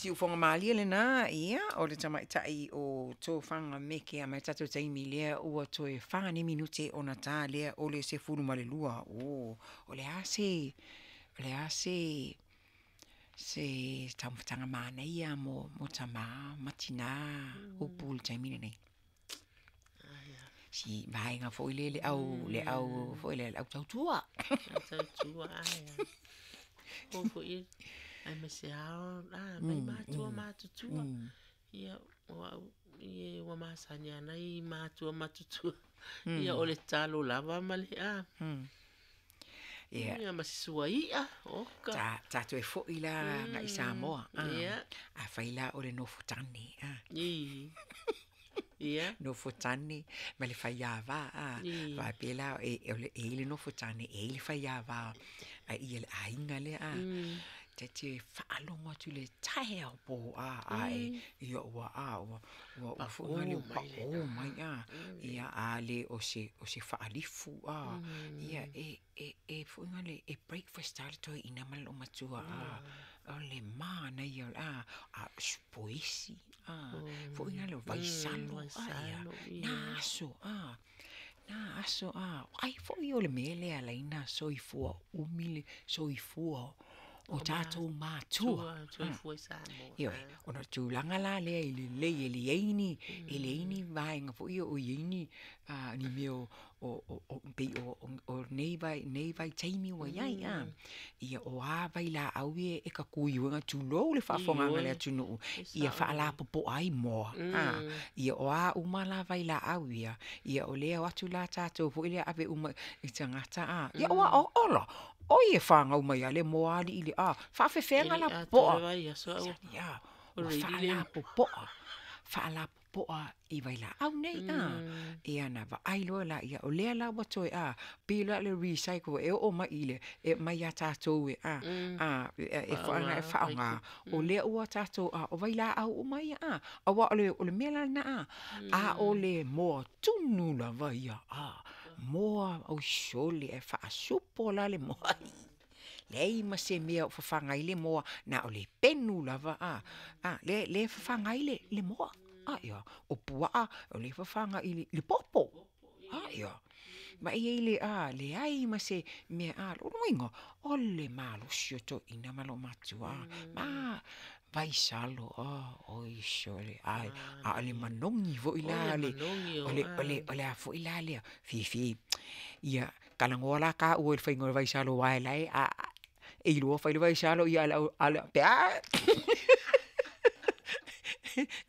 Siufoga malie lena, ia, o le tamaitai o Tofaga Meke a mai tatou taimi lea ua toe 4 nei minute ona ta lea o le 12. O, o le a se, o le a se, se taumafataga manaia mo, mo tamā ma tinā upu i le taimi lenei? Si vaega foi lea le au, le au foi lea, le au tautua. Au tautua, ai. O foi, aemaise lava, a, mai matua matutua. Ia, o au, ia ua masani lava nai matua matutua. Ia, o le talo lava ma le, a. Ia, ma si sua i'a, oka. Ta, tatou e foi la agai i Samoa. Afai la o le nofo tane, a. Nofo tane ma le faiava, a. Faapea la, e, e i ai le nofo tane, e i ai le faiava a ia le aiga lea, a. Ta te faalogo atu i le taeao poa, ae ia ua, a, ua, ua foi lea ua pao mai, a. Ia a le o se, o se faalifu, a, ia e, e, e foi lea e breakfast lava le toeaina ma le loomatua, a. O le manaia, a, a o le poisi, a, foi lea o vaisalo, a ia, na aso, a, na aso, a, ai foi o le mea lea e ala ai ona soifua umi le soifua o tatou matua. Ioe, ona o le tulaga la lea i le lelei e leai ni, e leai ni vaega foi ia o i ai ni, ni mea o, o, pei o nei nei vaitaimi ua i ai, a. Ia o a vailaau ia e tatui tulou le faafofogaaga a le atunuu, ia faalapopoa ai moa, a. Ia o a uma la vailaau ia, ia o lea e o atu la tatou foi lea ave uma i tagata, a. Ia aua ola, oi e fanau mai lava le moa alii le, a, faapefea ona lapopoa? Ua faalapopoa, faalapopoa i vailaau nei, a. Ia ona vaai loa lea, o lea la ua toe, a, pei la o le recycle e oo mai i le, e aumai ia tatou e, a, e faaaoga, o lea ua tatou, a, o vailaau uma ia, a. Aua o le mea la lena, a, a o le moa tunu lava ia, a, moa, oi sole, ae faasupo la le moa, leai ma se mea o fafaga ai le moa, na o le penu lava, a, a, lea e fafaga ai le moa, a, ia, o puaa, o lea e fafaga i le popo, a, ia. Vaai i ai le, a, leai ma se mea, a, lona uiga, o le malosi o toeaiina ma olomatua, a, vaisalo, oi sole, a o le manogi foi la, o le a foi la lea, fifi, ia talanoa la taua i le faiga o le vaisalo aua o la e, e iloa fai le vaisalo, a o le, pe a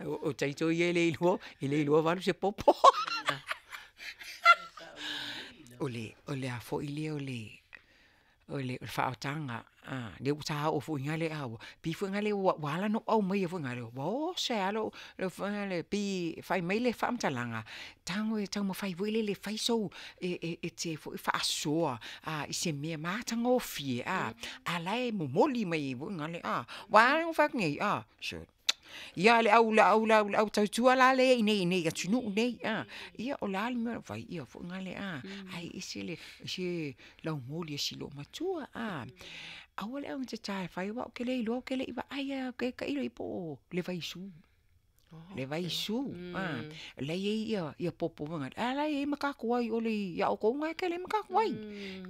O taito ia e le iloa, e le iloa valu se popo. O le, o le a foi lea o le, o le faaotaga, lea ua ta oo foi i ina lea, pei foi lea ua ala ona ou aumaia foi lea, ua oso ai lava lou, foi lea pei e fai mai le faamatalaga, tago e taumafai foi lele e fai sou, e te faasoa i se mea matagofie, a la e momoli mai ai foi lea, aua a fai atu nei, sole, ia le au le au le au tautua la lea i inei i atunuu nei, a, ia o le a le mea o fai, ia foi lea, a, ae ese le laumoli o si loomatua, a. Aua le augatata e fai aua ou te le iloa ou te le i vaai lava, ou te tailo i ai po o le vaisu, le vaisu, a. O la e i ai ia popo foi nale, a o la e i ai matatuai i o ia outou na e tele ai matatuai.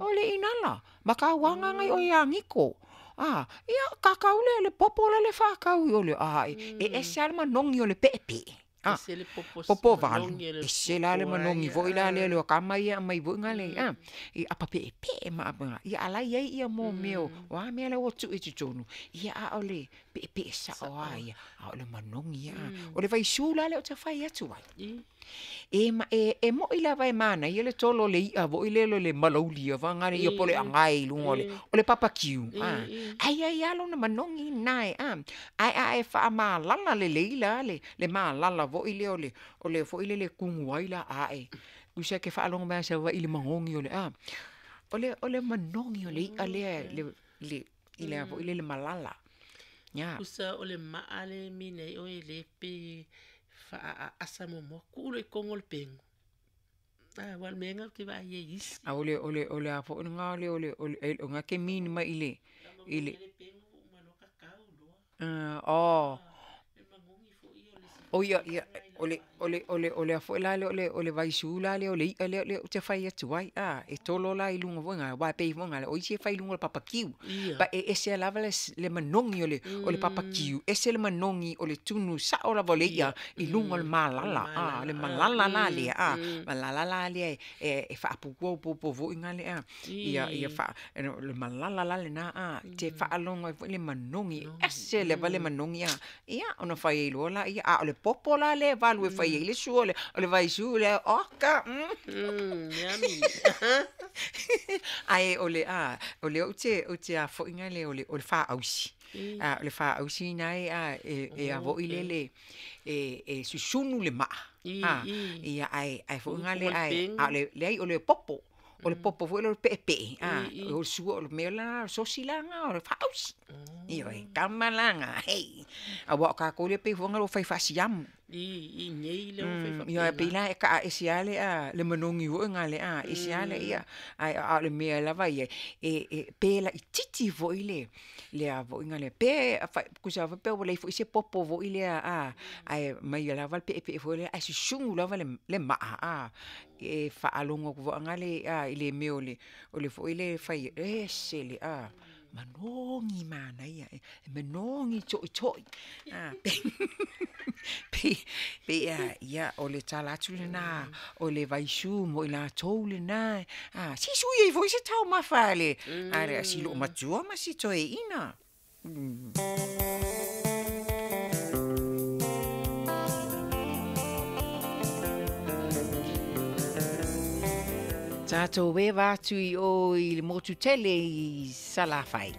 O le inala, matauaga na i o i Agito, a, ia tatau le popo lale e faatau i o le, e ese lava le manogi o le peepee, a, popo valu, ese la le manogi foi la lea o tama ia e aumai foi nale a, i apa peepee ma apa, ia a o la e i ai ia mea o a mea la ua tuu i totonu, ia a o le peepee sao lava ia, a o le manogi lava. O le vaisu la lea ou te fai atu ai, e moi lava e manaia le tolo o le i'a foi lele o le malauli ia po o le anae i luga o le papatiu, a, ae i ai lava lona manogi lena e, a, ae a e faamalala lelei la le malala foi lea o le o le foi lele e tunu ai la, ae, tusa e te faalogo mai lava i Savaii i le manogi o le a, o le manogi o le i'a lea i le a foi lele malala. Ia. Tusa o le maa le mine ai oe le pe faaasa muamua, tuu loa i totonu o le pegu. A, aua o le mea lena ou te vaai ai i isi. A o le o le o le a foi lena o le o le o lena e te mean mai i le i le. Oh. O ia, ia, o le, o le, o le, o le a foi la lea o le, o le vaisu la lea o le i'a lea ou te fai atu ai, a, e tolo la i luga foi aua e pei foi o isi e fai i luga o le papakiu. But e ese lava le, le manogi o le, o le papakiu, ese le manogi o le tunu sa'o lava o le i'a i luga o le malala, a, le malala la lea, a, malala la lea e, e faapupuaopopo foi gale a, ia, ia faa, le malala la lena, a, te faalogo ai foi le manogi, ese lava le manogi, a, ia, ona fai ai loa laia, a o le popo la lea e valu e fai ai le sua o le, o le vaisu lea, oka, Yummy. Ae o le, a, o lea ou te, ou te a foi gale o le, o le faausi. A, o le faausi na e, a, e, e a foi le le, e, e susunu le maa. A, ia, ae, ae foi gale, ae, a o le, leai o le popo. O le popo foi lea o le peepee, a, o le sua o le mea la, sosi la na, o le faausi. Ioe, kama la na, hei. Aua o kākou lea pei foi ua fai faasiamu. I, i nei le ua fai Ia, pei la e kaa ese lava le, a, le manogi foi gale, a, ese lava le, ia, ae a o le mea lava ia, e, e pe laitiiti foi le, le a foi gale, pe, tusa foi pe ua leai foi se popo foi lea, a, ae mai lava le peepee foi lea, ae susunu lava le, le maa, a, e faalogo atu foi gale, a, i le mea o le, o le foi lea e fai, ese le, a, manogi manaia, e manogi toʻitoʻi, a, pei, pei, a, ia, o le tala atu lenā, o le vaisu mo i latou lenā, a, se i sui ai foi se taumafa a le, a le, a si loomatua ma si toeaina. Tatou eva atu i o i le motu tele i Salafai.